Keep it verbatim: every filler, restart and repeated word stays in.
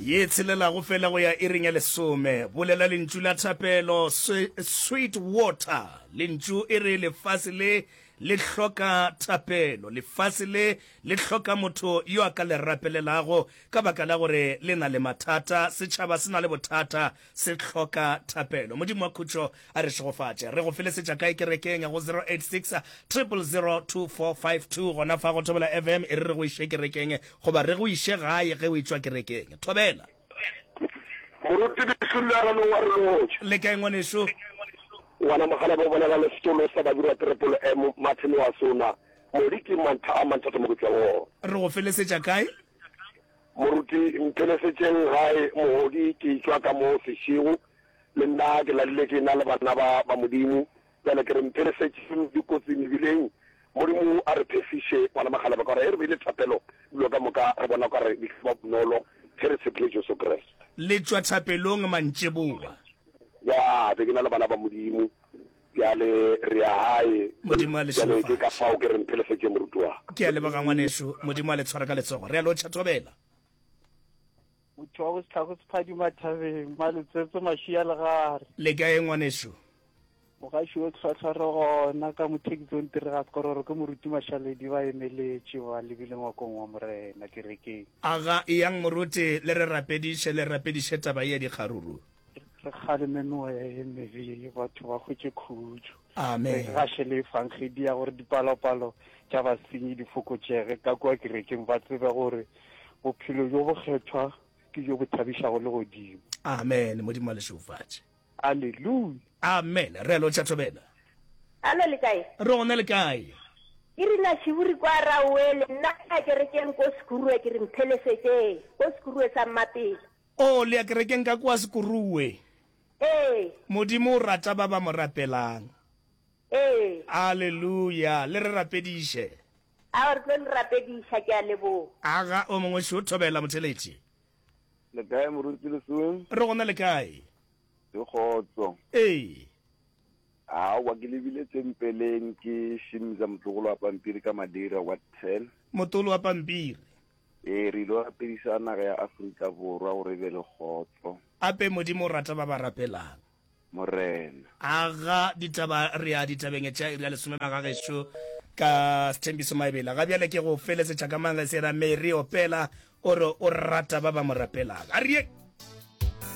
Ye tshelelago fela go ya iring ya lesome. Bolela lentšu la thapelo, sweet water. Lentšu e re lefase le le hloka thapelo. Lefase le le hloka motho yo a ka le rapelelago ka baka la gore le na le mathata. Setšhaba se na le bothata, se hloka thapelo. Modimo wa khutšo a re šegofatše. Re go felesetša kae kerekeng go zero eight six triple zero two four five two gona fa go Thobela F M e re re go iše kerekeng goba re go iše gae ge o etšwa kerekeng. Thobela. Moruti Lehlulana no wa re lotšha. Le kae ngwanešu? Ngwana Mogalabe o bolela le setolo sa Babirwa Trepolo M Martin wa Sona. Modi ke mantha a manthatho mo ke tšwang gona. Re go felesetša kae? Moruti mphelesetšeng gae mohodi ke tšwa ka mo sešego le nna ke ladile ke na le bana ba ba Modimo bjale ke re mphelesetšeng dikotsi mebileng Modimo a re phefiše ngwana Mogalabe ka gore ge re beile thapelo dilo ka moka re bona ka re di tla ba bonolo ge re tshepile Jesu Kriste. Le tšwa thapelong mantšiboa. Ya be ke na le bana ba Modimo bjale re ya gae. Modimo a le Bjale ke ka šegofatše. fao ke re mphelesetše moruti wa ka. Ke a leboga ngwanešu. Modimo a le tshware ka letsogo. Re a lotšha Thobela. Motho wa bosetlhago sephadima thabeng, Maletsetse Mašia Legare. Le kae ngwanešu? Mogaši o tlhwatlhwa re gona ka mothekitsong tire ga sekororo ke moruti Mašaledi ba emeletše ba lebile ngwakong wa Morena kerekeng. Aga, eyang moruti le re rapediše, le rapediše taba ye ya dikgaruru. Re kgaleme meoya ye mebe, batho ba hwetše khutšo. Amen. Re gaše le efangedi ya gore dipalopalo tša basenyi di fokotšege ka kua kerekeng, ba tsebe gore bophelo bjo bokgethwa ke bjo bo thabišago legodimo. Amen. Modimo a le šegofatše. Aleluya. Amen. Re a lotšha Thobela. Alo le kae? Re gona le kae? Ke rina Tšhiburi kwa Raoele, nna ke ya kerekeng ko Sekurue ke re mphelesetšeng ko Sekurue sa Mmapela. Oh, le ya kerekeng ka kua Sekurue. Ee. Modimo o rata ba ba mo rapelang. Ee. Aleluya. Le re rapediše. Ao re tlo le rapediša, ke a leboga. Aga o mongwe šo Thobela motheletši. Le kae moruti Lesoeng? Re gona le kae? Ke kgotso. Ee. Aowa ke lebile tempeleng ke šimza motlogolo wa pampiri ka Madeira ward ten. Motolo wa pampiri. Ee, re ilo rapediša naga ya Afrika Borwa gore e be le kgotso. Ape Modimo o rata ba ba rapelang. Morena. Aga ditaba re ya ditabeng tša iri ya lesome magagešo ka Sthembiso Maebela. Ga bjale ke go felesetša ka mang ge se ra Mary opela o re o rata ba ba mo rapelang. A re ye.